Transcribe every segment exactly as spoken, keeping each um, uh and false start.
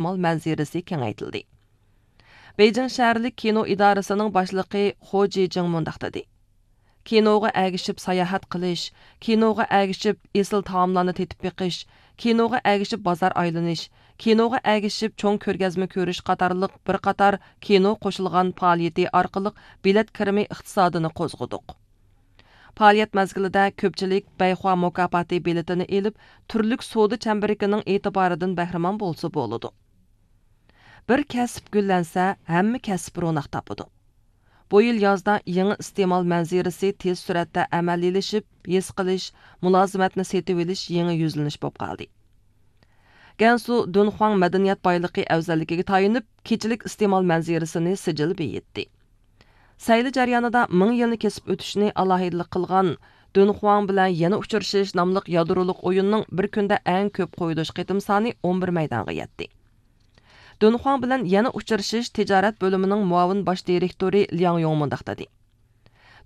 ئىستېمال مەنزىرىسى كېڭەيتىلدى. بېيجىڭ شەھەرلىك كىنو ئىدارىسىنىڭ باشلىقى خو جىجىڭ مۇنداق دېدى: كىنوغا ئەگىشىپ ساياھەت قىلىش، كىنوغا ئەگىشىپ ئېسىل تائاملارنى تېتىپ بېقىش، كىنوغا ئەگىشىپ بازار ئايلىنىش، كىنوغا ئەگىشىپ چوڭ كۆرگەزمە كۆرۈش قاتارلىق بىر قاتار كىنو قوشۇلغان پائالىيىتى ئارقىلىق بېلەت كىرىمى ئىقتىسادىنى قوزغىدۇق. پائالىيەت مەزگىلىدە كۆپچىلىك بەيخۇا مۇكاپاتى بېلىتىنى ئېلىپ، تۈرلۈك سودا چەمبىرىكىنىڭ ئېتىبارىدىن بەھرىمەن بولسا بولىدۇ. بىر كەسىپ گۈللەنسە، ھەممە كەسىپ روناق تاپىدۇ. بۇ يىل يازدا يېڭى ئىستېمال مەنزىرىسى تېز سۈرئەتتە ئەمەلىيلىشىپ، ھېس قىلىش، مۇلازىمەتنى سېتىۋېلىش يېڭى يۈزلىنىش بولۇپ قالدى. گەنسۇ دۇنخۇاڭ مەدەنىيەت بايلىقى ئەۋزەللىكىگە تايىنىپ، كېچىلىك ئىستېمال مەنزىرىسىنى سىجىل بېيىتتى. سەيلە جەريانىدا مىڭ يىلنى كېسىپ ئۆتۈشنى ئالاھىدىلىك قىلغان دۇنخۇاڭ بىلەن يەنە ئۇچرىشىش ناملىق يادرولۇق ئويۇننىڭ بىر كۈندە ئەڭ كۆپ قويۇلۇش قېتىم سانى ئون بىر مەيدانغا يەتتى. دۇنخۇاڭ بىلەن يەنە ئۇچرىشىش تىجارەت بۆلۈمىنىڭ مۇئاۋىن باش دىرېكتورى لياڭ يوڭ مۇنداق دېدى: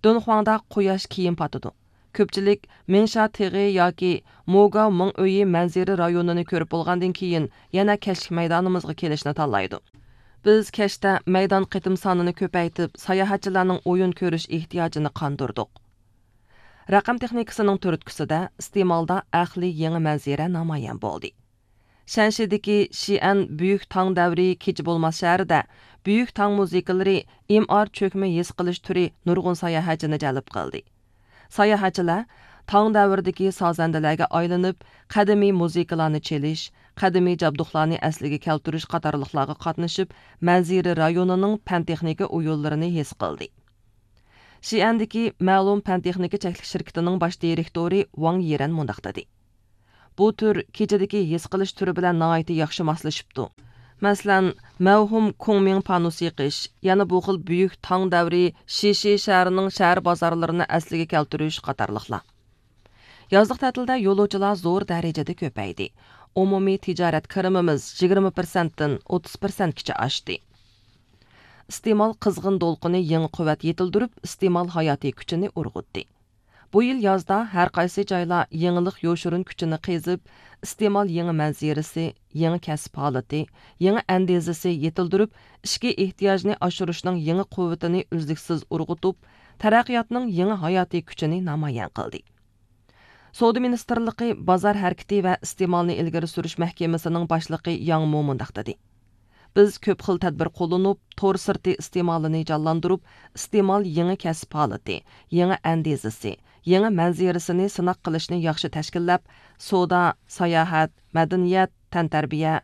دۇنخۇاڭدا قۇياش كېيىن پاتىدۇ. كۆپچىلىك مىڭشا تېغى ياكى موگاۋ مىڭ ئۆيى مەنزىرە رايونىنى كۆرۈپ بولغاندىن كېيىن، يەنە كەچلىك مەيدانىمىزغا كېلىشنى تاللايدۇ. بىز كەچتە مەيدان قېتىم سانىنى كۆپەيتىپ، ساياھەتچىلەرنىڭ ئويۇن كۆرۈش ئېھتىياجىنى قاندۇردۇق. رەقەم تېخنىكىسىنىڭ تۈرتكىسىدە ئىستېمالدا ئەقلىي يېڭى مەنزىرە نامايان بولدى. شەنشىدىكى شىئەن بۈيۈك تاڭ دەۋرى كېچە بولماس شەھىرىدە بۈيۈك تاڭ مۇزىكىلىرى، ئېم ئار چۆكمە ھېس قىلىش تۈرى نۇرغۇن ساياھەتچىنى جەلپ قىلدى. ساياھەتچىلەر تاڭ دەۋرىدىكى سازەندىلەرگە ئايلىنىپ، قەدىمىي مۇزىكىلارنى چېلىش، قەدىمىي جابدۇقلارنى ئەسلىگە كەلتۈرۈش قاتارلىقلارغا قاتنىشىپ، مەنزىرە رايونىنىڭ پەن-تېخنىكا ئويۇنلىرىنى ھېس قىلدى. شىئەندىكى مەلۇم پەن-تېخنىكا چەكلىك شىركىتىنىڭ باش دىرېكتورى ۋاڭ يىرەن مۇنداق دېدى: بۇ تۈر كېچىدىكى ھېس قىلىش تۈرى بىلەن ناھايىتى ياخشى ماسلىشىپتۇ. مەسىلەن، مەۋھۇم كۇڭمىڭ پانۇسى يېقىش، يەنە بۇ خىل بۈيۈك تاڭ دەۋرى شىشى شەھىرىنىڭ شەھەر بازارلىرىنى ئەسلىگە كەلتۈرۈش قاتارلىقلار. يازلىق تەتىلدە يولۇچىلار زور دەرىجىدە كۆپەيدى. ئومۇمىي تىجارەت كىرىمىمىز يىگىرمە پىرسەنتتىن ئوتتۇز پىرسەنتكىچە ئاشتى. ئىستېمال قىزغىن دولقۇنى يېڭى قۇۋۋەت يېتىلدۈرۈپ، ئىستېمال ھاياتىي كۈچىنى ئۇرغۇتتى. بۇ يىل يازدا ھەر قايسى جايلار يېڭىلىق يوشۇرۇن كۈچىنى قېزىپ، ئىستېمال يېڭى مەنزىرىسى، يېڭى كەسىپ ھالىتى، يېڭى ئەندىزىسى يېتىلدۈرۈپ، ئىچكى ئېھتىياجنى ئاشۇرۇشنىڭ يېڭى قۇۋۋىتىنى ئۈزلۈكسىز ئۇرغۇتۇپ، تەرەققىياتنىڭ يېڭى ھاياتىي كۈچىنى نامايان قىلدى. سودا مىنىستىرلىقى بازار ھەرىكىتى ۋە ئىستېمالنى ئىلگىرى سۈرۈش مەھكىمىسىنىڭ باشلىقى ياڭ مو مۇنداق دېدى: بىز كۆپ خىل تەدبىر قوللىنىپ، تور سىرتى ئىستېمالىنى جانلاندۇرۇپ، ئىستېمال يېڭى كەسىپ ھالىتى، يېڭى ئەندىزىسى، يېڭى مەنزىرىسىنى سىناق قىلىشنى ياخشى تەشكىللەپ، سودا، ساياھەت، مەدەنىيەت، تەنتەربىيە،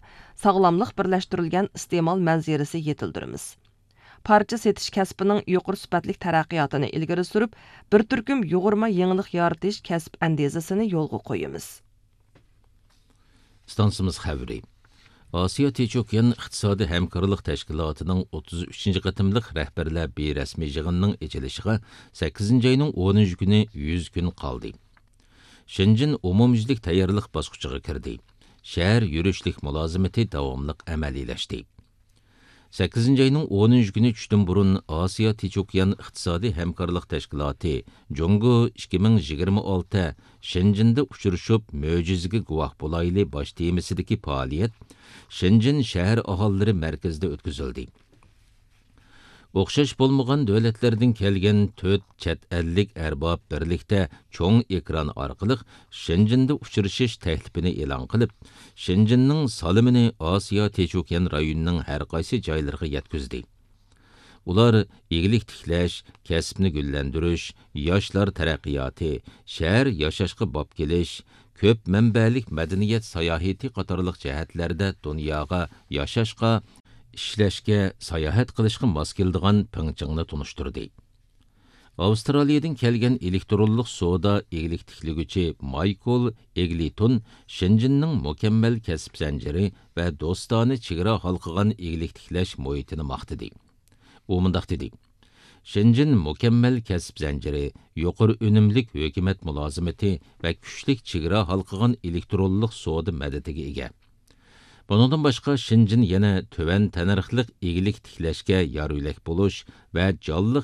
ساغلاملىق بىرلەشتۈرۈلگەن ئىستېمال مەنزىرىسى يېتىلدۈرىمىز. پارچە سېتىش كەسپىنىڭ يۇقىرى سۈپەتلىك تەرەققىياتىنى ئىلگىرى سۈرۈپ، بىر تۈركۈم يۇغۇرما يېڭىلىق يارىتىش كەسىپ ئەندىزىسىنى يولغا قويىمىز. ئىستانسىمىز خەۋىرى. ئاسىيا تىچوكيان ئىقتىسادىي ھەمكارلىق تەشكىلاتىنىڭ ئوتتۇز ئۈچىنچى قېتىملىق رەھبەرلەر بىررەسمىي يىغىنىنىڭ ئېچىلىشىغا سەككىزىنچى ئاينىڭ ئونىنچى كۈنى يۈز كۈن قالدى. شېنجېن ئومۇميۈزلۈك تەييارلىق باسقۇچىغا كىردى. شەھەر يۈرۈشلۈك مۇلازىمىتى داۋاملىق ئەمەلىيلەشتى. سەككىزىنچى ئاينىڭ ئونىنچى كۈنى چۈشتىن بۇرۇن ئاسىيا تىچوكيان ئىقتىسادىي ھەمكارلىق تەشكىلاتى جۇڭگو ئىككى مىڭ يىگىرمە ئالتە شېنجېندا ئۇچرىشىپ، مۆجىزىگە گۇۋاھ بولايلى باش تېمىسىدىكى پائالىيەت شېنجېن شەھەر ئاھالىلىرى مەركىزىدە ئۆتكۈزۈلدى. ئوخشاش بولمىغان دۆلەتلەردىن كەلگەن تۆت چەت ئەللىك ئەرباب بىرلىكتە چوڭ ئېكران ئارقىلىق شېنجېندا ئۇچرىشىش تەكلىپىنى ئېلان قىلىپ، شېنجېننىڭ سالىمىنى ئاسىيا تىچوكيان رايونىنىڭ ھەر قايسى جايلىرىغا يەتكۈزدى. ئۇلار ئىگىلىك تىكلەش، كەسىپنى گۈللەندۈرۈش، ياشلار تەرەققىياتى، شەھەر ياشاشقا باب كېلىش، كۆپ مەنبەلىك مەدەنىيەت ساياھىتى قاتارلىق جەھەتلەردە دۇنياغا ياشاشقا، ئىشلەشكە، ساياھەت قىلىشقا ماس كېلىدىغان پىڭچىڭنى تونۇشتۇردى. ئاۋسترالىيەدىن كەلگەن ئېلېكترونلۇق سودا ئىگىلىك تىكلىگۈچى مايكل ئېگلىتون شېنجېننىڭ مۇكەممەل كەسىپ زەنجىرى ۋە دوستانە چېگرا ھالقىغان ئىگىلىك تىكلەش مۇھىتىنى ماختىدى. ئۇ مۇنداق دېدى: شېنجېن مۇكەممەل كەسىپ زەنجىرى، يۇقىرى ئۈنۈملۈك ھۆكۈمەت مۇلازىمىتى ۋە كۈچلۈك چېگرا ھالقىغان ئېلېكترونلۇق سودا مەدىتىگە ئىگە. بۇنىڭدىن باشقا، شېنجېن يەنە تۆۋەن تەننەرخلىق ئىگىلىك تىكلەشكە يار يۆلەك بولۇش ۋە جانلىق